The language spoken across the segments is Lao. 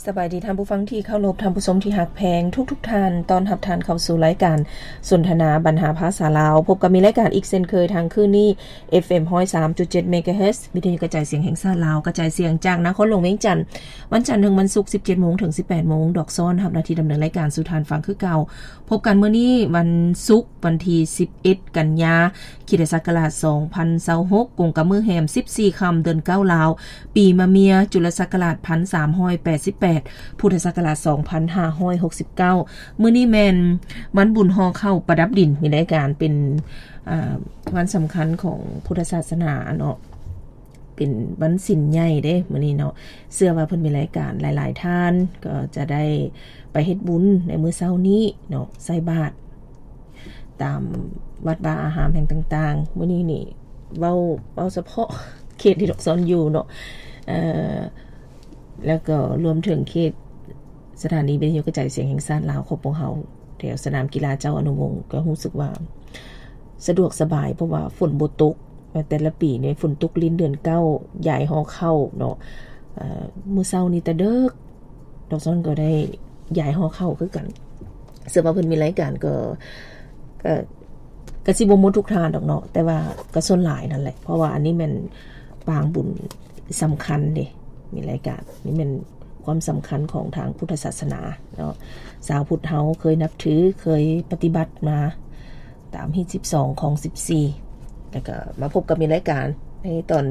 ສະບາຍດີທ່ານຜູ້ຟັງທີ່ເຄົາລົບ, ທ່ານຜູ້ຊົມທີ່ຮັກແພງທຸກໆທ່ານ, ຕ້ອນຮັບທ່ານເຂົ້າສູ່ລາຍການສົນທະນາບັນຫາພາສາລາວ. ພົບກັບມີລາຍການອີກເຊັ່ນເຄີຍທາງຄືນນີ້ ເອັຟເອັມຮ້ອຍສາມຈຸດເຈັດເມກາເຮີດ ວິທະຍຸກະຈາຍສຽງແຫ່ງຊາດລາວ, ກະຈາຍສຽງຈາກນະຄອນຫຼວງວຽງຈັນ, ວັນຈັນເຖິງວັນສຸກ ສິບເຈັດໂມງເຖິງສິບແປດໂມງ, ດອກຊອນຮັບໜ້າທີ່ດຳເນີນລາຍການສູ່ທ່ານຟັງຄືເກົ່າ. ພົບກັນມື້ນີ້ວັນສຸກ ວັນທີສິບເອັດ ກັນຍາ ຄຣິສຕະສັກກະລາດສອງພັນຊາວຫົກ ກົງກັບມື້ແຮມສິບສີ່ຄ່ຳ ເດືອນເກົ້າລາວ, ປີມະເມຍ ຈຸລະສັກກະລາດພັນສາມຮ້ອຍແປດສິບແປດ ພຸດທະສັກກະລາດສອງພັນຫ້າຮ້ອຍຫົກສິບເກົ້າ. ມື້ນີ້ແມ່ນວັນບຸນຫໍ່ເຂົ້າປະດັບດິນ, ມີລາຍການເປັນ ອ່າ ວັນສຳຄັນຂອງພຸດທະສາສະໜາເນາະ, ເປັນວັນສິນໃຫຍ່ເດ້ມື້ນີ້ເນາະ. ເຊື່ອວ່າເພິ່ນມີລາຍການ ຫຼາຍໆທ່ານກໍຈະໄດ້ໄປເຮັດບຸນໃນມື້ເຊົ້ານີ້ເນາະ, ໃສ່ບາດຕາມວັດວາອາຮາມແຫ່ງຕ່າງໆ. ມື້ນີ້ນີ້ເວົ້າ ເວົ້າສະເພາະເຂດທີ່ດອກຊອນຢູ່ເນາະ, ເອີ ແລ້ວກໍລວມເຖິງເຂດສະຖານີວິທະຍຸກະຈາຍສຽງແຫ່ງຊາດລາວຂອງພວກເຮົາ ແຖວສະໜາມກິລາເຈົ້າອະນຸວົງ ກໍຮູ້ສຶກວ່າສະດວກສະບາຍ ເພາະວ່າຝົນບໍ່ຕົກ. ແຕ່ລະປີນີ້ຝົນຕົກຫຼິ້ນເດືອນເກົ້າ ຢາຍຫໍ່ເຂົ້າເນາະ. ເອີ ມື້ເຊົ້ານີ້ແຕ່ເດິກ ດອກຊອນກໍໄດ້ຢາຍຫໍ່ເຂົ້າຄືກັນ. ເຊື່ອວ່າເພິ່ນມີລາຍການກໍ ກໍ ກໍຊິບໍ່ໝົດທຸກທ່ານດອກເນາະ, ແຕ່ວ່າກໍສ່ວນຫຼາຍນັ້ນແຫຼະ, ເພາະວ່າອັນນີ້ແມ່ນປາງບຸນສຳຄັນເດ້. ມີລາຍການນີ້ແມ່ນຄວາມສຳຄັນຂອງທາງພຸດທະສາສະໜາເນາະ, ຊາວພຸດເຮົາເຄີຍນັບຖື ເຄີຍປະຕິບັດມາ ຕາມຮີດສິບສອງ ຄອງສິບສີ່ ແລ້ວກໍມາພົບກັບມີລາຍການໃນຕອນ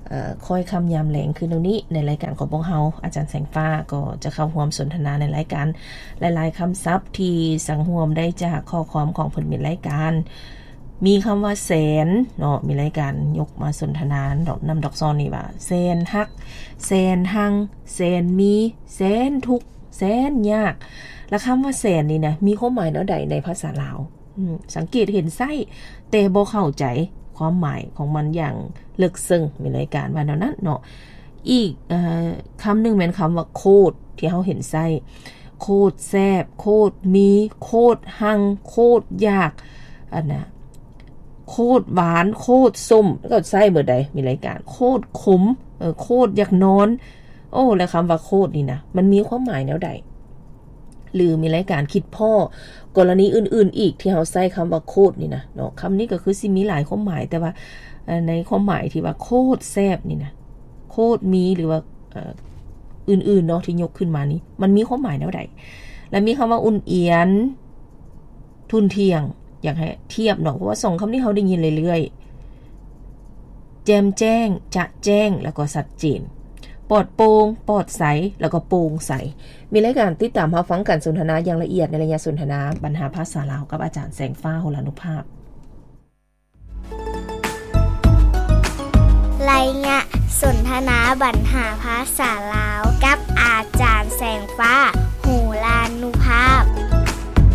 ເອີ ຄ້ອຍຄ່ຳຍາມແລງຄືນນີ້. ໃນລາຍການຂອງພວກເຮົາ ອາຈານແສງຟ້າກໍຈະເຂົ້າຮ່ວມສົນທະນາໃນລາຍການຫຼາຍໆຄຳສັບທີ່ສັງຮວມໄດ້ຈາກຂໍ້ຄວາມຂອງເພິ່ນມີລາຍການ. ມີຄຳວ່າແສນເນາະ, ມີລາຍການຍົກມາສົນທະນານຳດອກຊອນນີ້ວ່າ ແສນຮັກ, ແສນຮັງ, ແສນມີ, ແສນທຸກ, ແສນຍາກ. ລະຄຳວ່າແສນນີ້ນະ ມີຄວາມໝາຍແນວໃດໃນພາສາລາວ? ອືມ ສັງເກດເຫັນໃຊ້ ແຕ່ບໍ່ເຂົ້າໃຈຄວາມໝາຍຂອງມັນຢ່າງເລິກເຊິ່ງ, ມີລາຍການວ່າແນວນັ້ນເນາະ. ອີກ ເອີ ຄຳໜຶ່ງແມ່ນຄຳວ່າໂຄດ ທີ່ເຮົາເຫັນໃຊ້ ໂຄດແຊບ, ໂຄດມີ, ໂຄດຮັ່ງ, ໂຄດຢາກ, ອັນນະ ໂຄດຫວານ, ໂຄດສົ້ມ ກໍໃຊ້ເໝິດໃດ໋ ມີລາຍການ, ໂຄດຂົມ, ເອີ ໂຄດຢາກນອນ. ໂອ້ ແລ້ວຄຳວ່າໂຄດນີ້ນະ ມັນມີຄວາມໝາຍແນວໃດ? ຫຼືມີລາຍການຄິດພໍ້ກໍລະນີອື່ນໆອີກທີ່ເຮົາໃຊ້ຄຳວ່າໂຄດນີ້ນະເນາະ. ຄຳນີ້ກໍຄືຊິມີຫຼາຍຄວາມໝາຍ, ແຕ່ວ່າ ເອີ ໃນຄວາມໝາຍທີ່ວ່າໂຄດແຊບນີ້ນະ, ໂຄດມີ ຫຼືວ່າ ເອີ ອື່ນໆເນາະ ທີ່ຍົກຂຶ້ນມານີ້ ມັນມີຄວາມໝາຍແນວໃດ? ແລະມີຄຳວ່າອຸ່ນອຽນ, ທຸ່ນທ່ຽງ, ຢາກໃຫ້ທຽບເນາະ, ເພາະວ່າສອງຄຳນີ້ເຮົາໄດ້ຍິນເລື້ອຍໆ. ແຈ່ມແຈ້ງ, ຈະແຈ້ງ ແລ້ວກໍຊັດເຈນ, ປອດໂປ່ງ, ປອດໃສ ແລ້ວກໍໂປ່ງໃສ. ມີລາຍການຕິດຕາມຮັບຟັງການສົນທະນາຢ່າງລະອຽດໃນໄລຍະສົນທະນາບັນຫາພາສາລາວກັບອາຈານແສງຟ້າ ໂຫລານຸພາບ. ໄລຍະສົນທະນາບັນຫາພາສາລາວກັບອາຈານແສງຟ້າ.